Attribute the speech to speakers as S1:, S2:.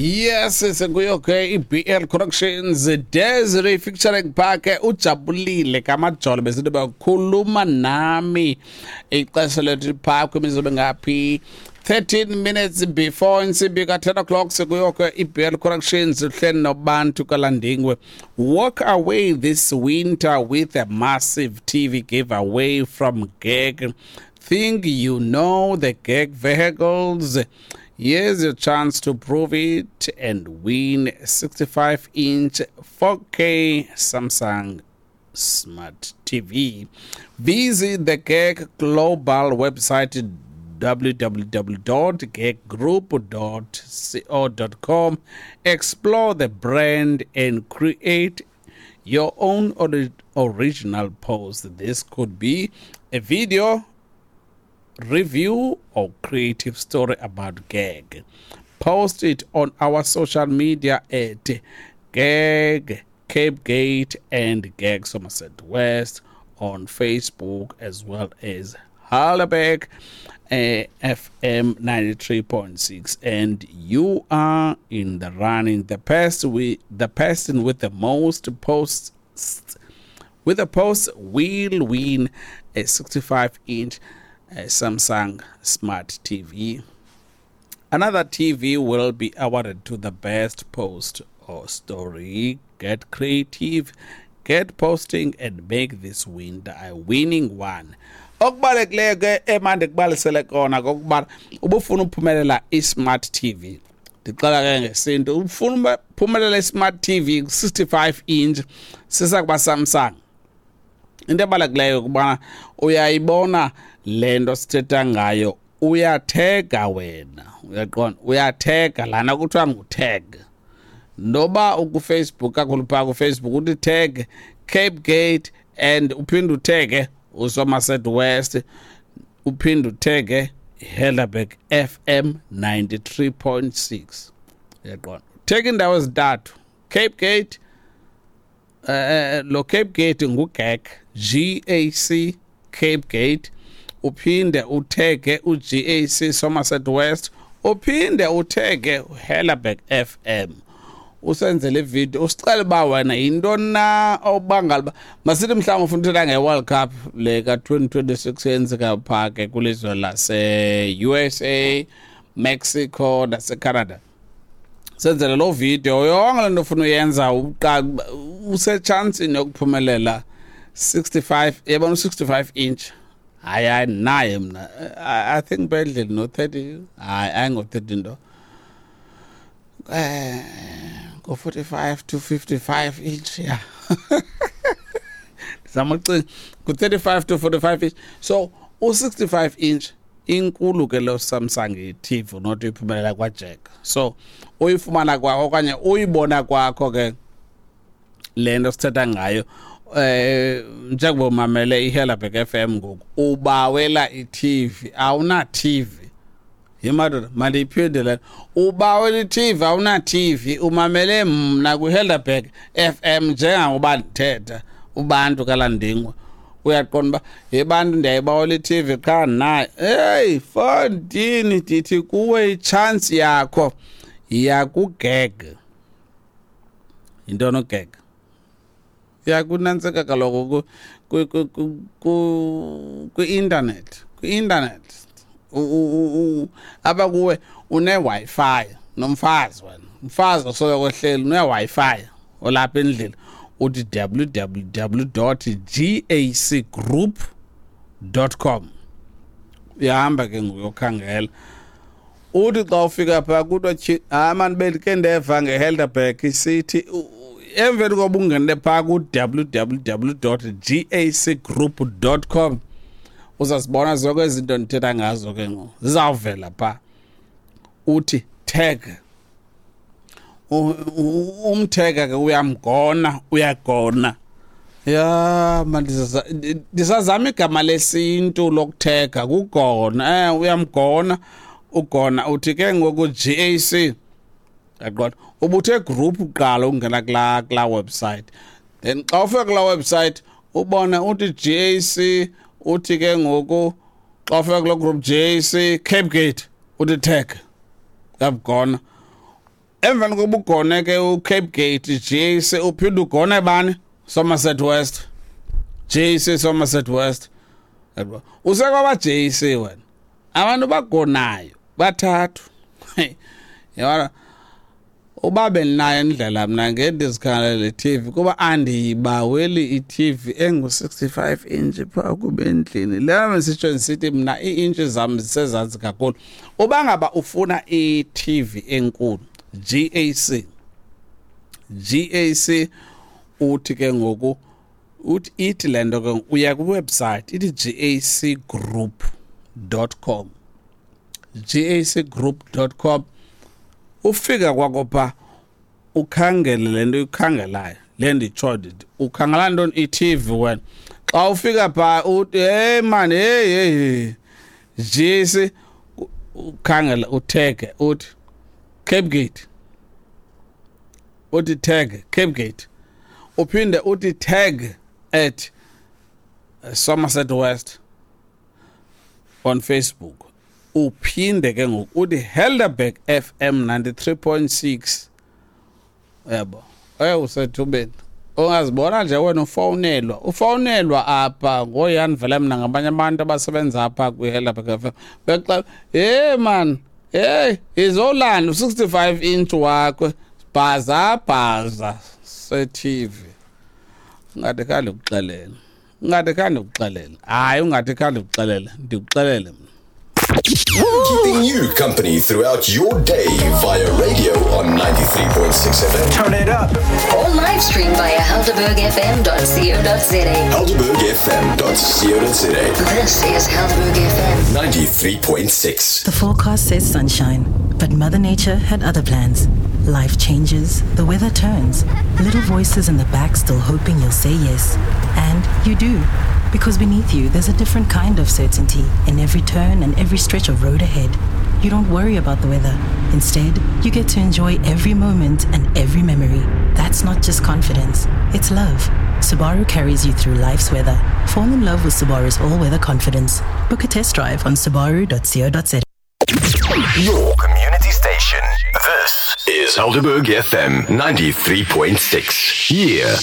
S1: Yes, sekuyo ke iBL Productions, Desiree featuring Parke, ujabulile kamajolo besithi bakhuluma nami. Ixesha lethu phaa kwimizobe ngaphi 13 minutes before insimbi ka-10 o'clock. Sekuyo ke iBL Productions, uhleli noBantu kaLandingwe. Walk away this winter with a massive TV giveaway from GAG. Think you know the GAG vehicles? Here's your chance to prove it and win 65-inch 4K Samsung Smart TV. Visit the GAG Global website, www.gaggroup.co.com. Explore the brand and create your own original post. This could be a video, review, or creative story about GAG. Post it on our social media at GAG Cape Gate and GAG Somerset West on Facebook, as well as Helderberg FM 93.6, and you are in the running. The person with the most posts with the post will win a 65-inch Samsung Smart TV. Another TV will be awarded to the best post or story. Get creative, get posting, and make this winter a winning one. Okubalulekileyo ke emandikubalisele kona kokuba ubufuna uphumelela i-smart TV, ndixela ke ngesintu, ufuna uphumelela i-smart TV 65 inch sisakuba Samsung, into ebalulekileyo ukubana uyayibona le nto sithetha ngayo, uyathega wena, uyaqonda, uyathega lana kuthiwa ngu-tag, noba ukuFacebook kakhulu, phaa kuFacebook uthi tag Cape Gate and uphinde uthege uSomerset West, uphinde uthege Helderberg FM 93.6, uyaqonda, tag indawo ezintathu, Cape Gate, lo Cape Gate nguGAC, GAC Cape Gate, uphinde uthege uGAC Somerset West, uphinde uthege uHelderberg FM, usenzele ividiyo, usicela uba wena yintoni na obangala uba, masithi mhlawumbi ufuna uthetha nge-World Cup le ka-2026 yenzeka phaa ke kwilizwe lase-USA, Mexico naseCanada, senzele loo video yonke le nto ufuna uyenza, usetshansini yokuphumelela 65, yabona, u-65 inch. Hayi, hayi, naye mna I think bedleni no-30, hayi, ayingo-30 nto, ngo-45 to 55 inch, ya, ndizama ucinga ngu-35 to 45 inch. So u-65 inch inkulu ke lo Samsung i-TV not uyiphumelela kwaJack. So uyifumana kwakho okanye uyibona kwakho ke le nto sithetha ngayo, njengoba umamele iHelderberg FM ngoku, ubawela i-TV, awuna TV. Yimadoda, mandiyiphinde le: ubawela i-TV, awuna TV, umamele mna kwiHelderberg FM njengangoba ndithetha, uBantu kaLandingwe, uyaqonda uba yebantu ndiyayibawela i-TV qha nayo. Heyi fondini, ndithi kuwe itshansi yakho yakuGAG. Yintoni uGAG? Yakunantsika kaloku kwi-internet, kwi-internet apha kuwe une-Wi-Fi nomfazi wena, umfazi osoloko ehleli une-Wi-Fi olapha endlini, uthi www.gacgroup.com. Uyahamba ke ngokuyokhangela, uthi xa ufika phaa kuthiwa tyi, hayi mani, bendike ndeva ngeHelderberg isithi emveni koba ungenele phaa ku-www.gacgroup.com, uzazibona zonke ezi zinto ndithetha ngazo ke ngoku, zizawuvela phaa. Uthi tag umtheka ke, uyamgona, uyagona ya man, ndisazama igama lesintu lokuthega, kugona, uyamgona, ugona, uthi ke ngoku GAC, yaqonda, ubuthe group kuqala ungena kulaa website, then xa ufika kulaa website ubone uthi GAC, uthi ke ngoku xa ufika kuloo group GAC Cape Gate, uthi tag, uyabugona. Emveni kokuba ugone ke uCape Gate GAC, uphinde ugone bani? Somerset West. GAC Somerset West. Usekwaba GAC wena. Abantu bagonayo bathathu. Yabona, uba bendinayo indlela mna ngendizikhalele le TV, kuba andiyibaweli i-TV engu-65 inch phaa kube endlini leyo. Bendisitsho ndisithi mna ii-inch zam zisezantsi kakhulu. Uba ngaba ufuna i-TV enkulu, GAC, GAC, uthi ke ngoku uthi ithi le nto ke, uya kwiwebsite ithi gacgroup.com, gacgroup.com. Ufika kwakho pha, ukhangele le nto uyikhangelayo, le nditsho ndithi ukhangela ntoni, i-TV wena. Xa ufika pha uthi, "Hey man, hey, hey, GAC," ukhangela, uthege, uthi Cape Gate, uthi tag Cape Gate, uphinde uthi tag at Somerset West on Facebook, uphinde ke ngoku uthi Helderberg FM 93.6. Yabo, usethubeni ungazibona nje wena ufowunelwa apha ngoyani vele mna ngabanye abantu abasebenza apha kwi-Helderberg FM, bexa, "Hey man, hey, izolanda u-65 inch wakho bhaza bhaza se-TV." Ungathi khange ndikuxelele, ungathi khange ndikuxelele, hayi, ungathi khange ndikuxelele, ndikuxelele mna.
S2: Keeping you company throughout your day via radio on 93.6 FM.
S3: Turn it up.
S4: Or live stream via helderbergfm.co.za.
S2: HelderbergFM.co.za.
S4: This is Helderberg FM.
S2: 93.6.
S5: The forecast says sunshine, but Mother Nature had other plans. Life changes, the weather turns, little voices in the back still hoping you'll say yes. And you do. Because beneath you, there's a different kind of certainty in every turn and every stretch of road ahead. You don't worry about the weather. Instead, you get to enjoy every moment and every memory. That's not just confidence, it's love. Subaru carries you through life's weather. Fall in love with Subaru's all weather confidence. Book a test drive on subaru.co.za.
S2: Your community station. This is Helderberg FM 93.6. Yeah.